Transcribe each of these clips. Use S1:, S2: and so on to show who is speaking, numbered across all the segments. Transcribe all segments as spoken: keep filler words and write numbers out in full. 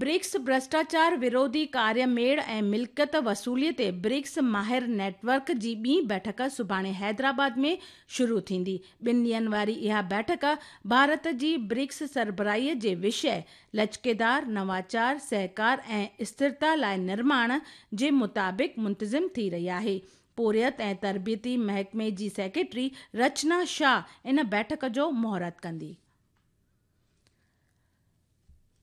S1: BRICS ڀرشٽاچار وروڌي ڪاريه ميڙ ۽ ملڪيت وصولي تي برڪس ماهر نيٽ ورڪ جي ٻي بيٺڪ سڀاڻي حيدرآباد ۾ شروع ٿيندي. ٻن ڏينهن واري اها بيٺڪ ڀارت جي برڪس سربراهي جي وشيه لچڪيدار، نواچار، سهڪار ۽ اسٿرتا لاءِ نرماڻ جي مطابق منتظم ٿي رهي آهي. پورهيت ۽ تربيتي محڪمي جي سيڪريٽري رچنا شاهه ان بيٺڪ جو مهورت ڪندي.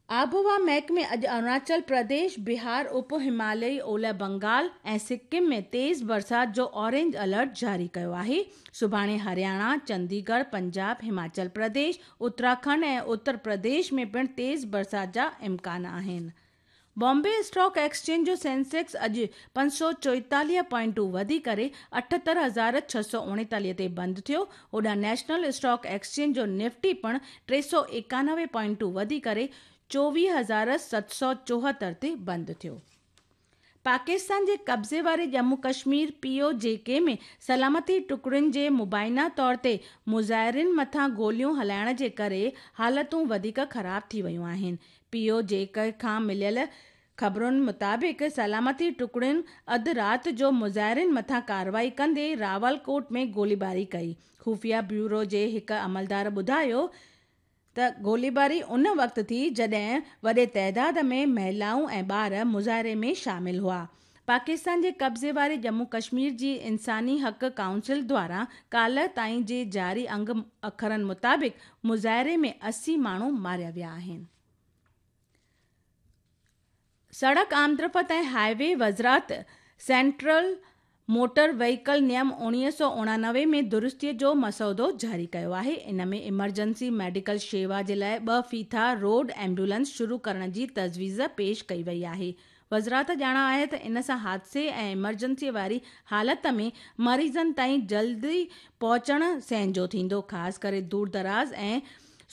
S1: آبهوا محڪمي اڄ اروناچل پرديش، بهار، اپ هماليائي اولهه بنگال ۽ سڪم ۾ تيز برسات جو اورينج الرٽ جاري ڪيو آهي. سڀاڻي هرياڻا، چنديڳڙهه، پنجاب، هماچل پرديش، اتراکنڊ ۽ اتر پرديش ۾ پڻ تيز برسات جا امڪان آهن. بامبي اسٽاڪ ايڪسچينج جو سينسيڪس اڄ پنج سؤ چوئيتاليهه پوائنٽون وڌي ڪري اٺهتر هزار ڇهه سؤ اوڻيتاليهه تي بند ٿيو. هوڏانهن نيشنل اسٽاڪ ايڪسچينج جو نفٽي پڻ ٽي سؤ ايڪانوي پوائنٽون وڌي ڪري چوويهه هزار ست سؤ چوهتر تي بند ٿيو. پاڪستان جي قبضي واري ڄمون ڪشمير پي او جي ڪي ۾ سلامتي ٽڪڙين جي مبينا طور تي مظاهرين مٿان گوليون هلائڻ جي ڪري حالتون وڌيڪ خراب ٿي ويون آهن. پي او جي ڪي کان مليل خبرن مطابق سلامتي ٽڪڙين اڌ رات جو مظاهرين مٿان ڪارروائي ڪندي راولڪوٽ ۾ گوليباري ڪئي. خفيه بيورو جي هڪ عملدار ٻڌايو ته گوليباري ان وقت ٿي جڏهن وڏي تعداد ۾ مهلائون ۽ ٻار مظاهري ۾ شامل هئا. پاڪستان جي قبضي واري ڄمون ڪشمير جي انساني حق ڪائونسل دواران ڪالهه تائين جي جاري انگ اکرن مطابق مظاهري ۾ اسي ماڻهو ماريا ويا آهن. سڙڪ آمدرفت ۽ هاءِ وي وزارت سينٽرل موٽر وهيڪل نيم اڻويهه سؤ اڻانوي ۾ درستي جو مسودو جاري ڪيو آهي. ان ۾ ايمرجنسي ميڊيڪل شيوا جي لاءِ ٻه ڦيٿا روڊ ايمبولينس شروع ڪرڻ جي تجويز پيش ڪئي وئي آهي. وزارت ڄاڻايو آهي ته ان سان حادثي ۽ ايمرجنسي واري حالت ۾ مريضن تائين جلدي پهچڻ سهنجو ٿيندو. خاص ڪري دور دراز ۽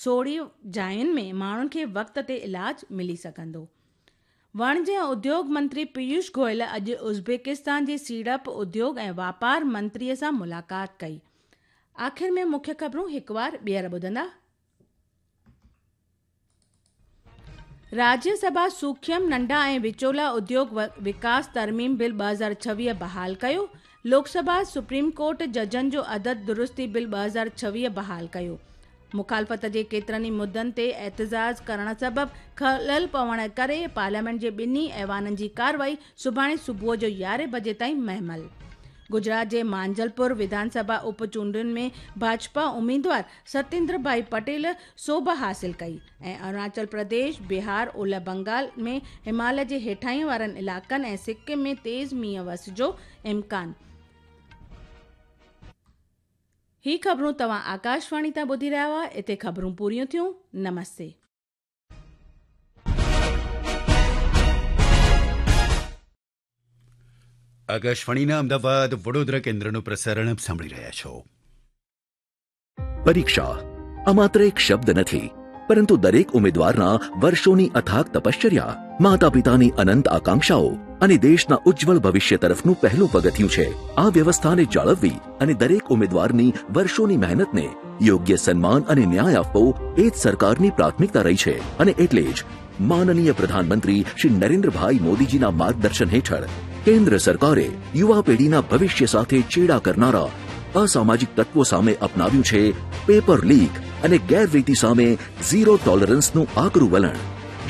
S1: سوڙهي جاين ۾ ماڻهن کي وقت تي علاج ملي سگهندو. وڻج ۽ اديوگ منتري پيوش گويل اڄ ازبڪستان جي سيڙپ، اديوگ ۽ واپار منتري سان ملاقات ڪئي. آخر ۾ مکيه خبرون هڪ بار ٻيهر ٻڌندا. راجيه سڀا سوکيم ننڍا ۽ وچولا اديوگ وڪاس ترميم بل ٻه هزار ڇويهه بحال ڪيو. لوڪ سڀا سپريم ڪورٽ ججن جو عدد درستي بل ٻه هزار ڇويهه بحال ڪيو. مخالفت جي ڪيترن ئي مدعن تي احتجاج ڪرڻ سبب خلل پوڻ ڪري پارليامينٽ جي ٻنهي ايوانن جي ڪارروائي سڀاڻي صبح جو يارهين بجي تائين مهمل. گجرات جي مانجلپور وڌان سڀا اپ چونڊن ۾ ڀاجپا اميدوار ستيندر ڀائي پٽيل سوڀ حاصل ڪئي ۽ اروناچل پرديش، بهار، اولهه بنگال ۾ هماليه جي هيٺاهين وارن علائقن ۽ سڪم ۾ تيز مينهن وس جو امڪان. هي خبرون توهان آڪاشواڻي تان ٻڌي رهيا هئا. اتي خبرون پوريون ٿيون. نمستي.
S2: આકાશવાણીના અમદાવાદ વડોદરા કેન્દ્રનું પ્રસારણ આપ સાંભળી રહ્યા છો.
S3: પરીક્ષા આ માત્ર એક શબ્દ નથી, પરંતુ દરેક ઉમેદવારના વર્ષોની અથાગ તપશ્ચર્યા, માતા પિતાની અનંત આકાંક્ષાઓ અને દેશના ઉજ્જવળ ભવિષ્ય તરફનું પહેલું પગથિયું છે. આ વ્યવસ્થાને જાળવવી અને દરેક ઉમેદવારની વર્ષોની મહેનતને યોગ્ય સન્માન અને ન્યાય આપવો એ જ સરકારની પ્રાથમિકતા રહી છે. અને એટલે જ માનનીય પ્રધાનમંત્રી શ્રી નરેન્દ્રભાઈ મોદીજીના માર્ગદર્શન હેઠળ કેન્દ્ર સરકારે યુવા પેઢીના ભવિષ્ય સાથે ચેડા કરનારા અસામાજિક તત્વો સામે અપનાવ્યું છે પેપર લીક અને ગેરરીતિ સામે ઝીરો ટોલરન્સનું આકરું વલણ,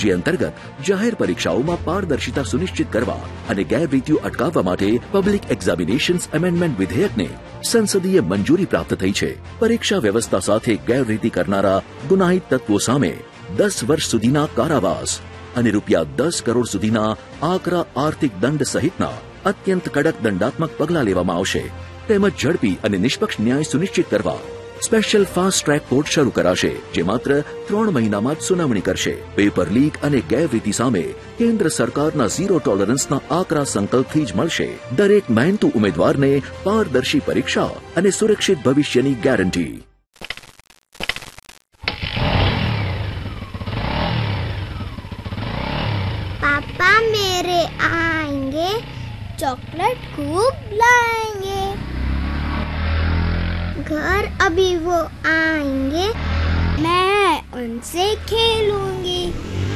S3: જે અંતર્ગત જાહેર પરીક્ષાઓમાં પારદર્શિતા સુનિશ્ચિત કરવા અને ગેરરીતિઓ અટકાવવા માટે પબ્લિક એક્ઝામિનેશન્સ એમેન્ડમેન્ટ વિધેયકને સંસદીય મંજૂરી પ્રાપ્ત થઈ છે. પરીક્ષા વ્યવસ્થા સાથે ગેરરીતિ કરનારા ગુનાહિત તત્વો સામે દસ વર્ષ સુધીના કારાવાસ અને રૂપિયા દસ કરોડ સુધીના આકરા આર્થિક દંડ સહિતના અત્યંત કડક દંડાત્મક પગલાં લેવામાં આવશે. તેમજ ઝડપી અને નિષ્પક્ષ ન્યાય સુનિશ્ચિત કરવા સ્પેશિયલ ફાસ્ટ ટ્રેક કોર્ટ શરૂ કરાશે, જે માત્ર ત્રણ મહિનામાં જ સુનાવણી કરશે. પેપર લીક અને ગેરરીતિ સામે કેન્દ્ર સરકારના ઝીરો ટોલરન્સના આકરા સંકલ્પથી જ મળશે દરેક મહેનતુ ઉમેદવારને પારદર્શી પરીક્ષા અને સુરક્ષિત ભવિષ્યની ગેરંટી.
S4: पापा मेरे आएंगे, चॉकलेट खूब लाएंगे। घर अभी वो आएंगे, मैं उनसे खेलूंगी।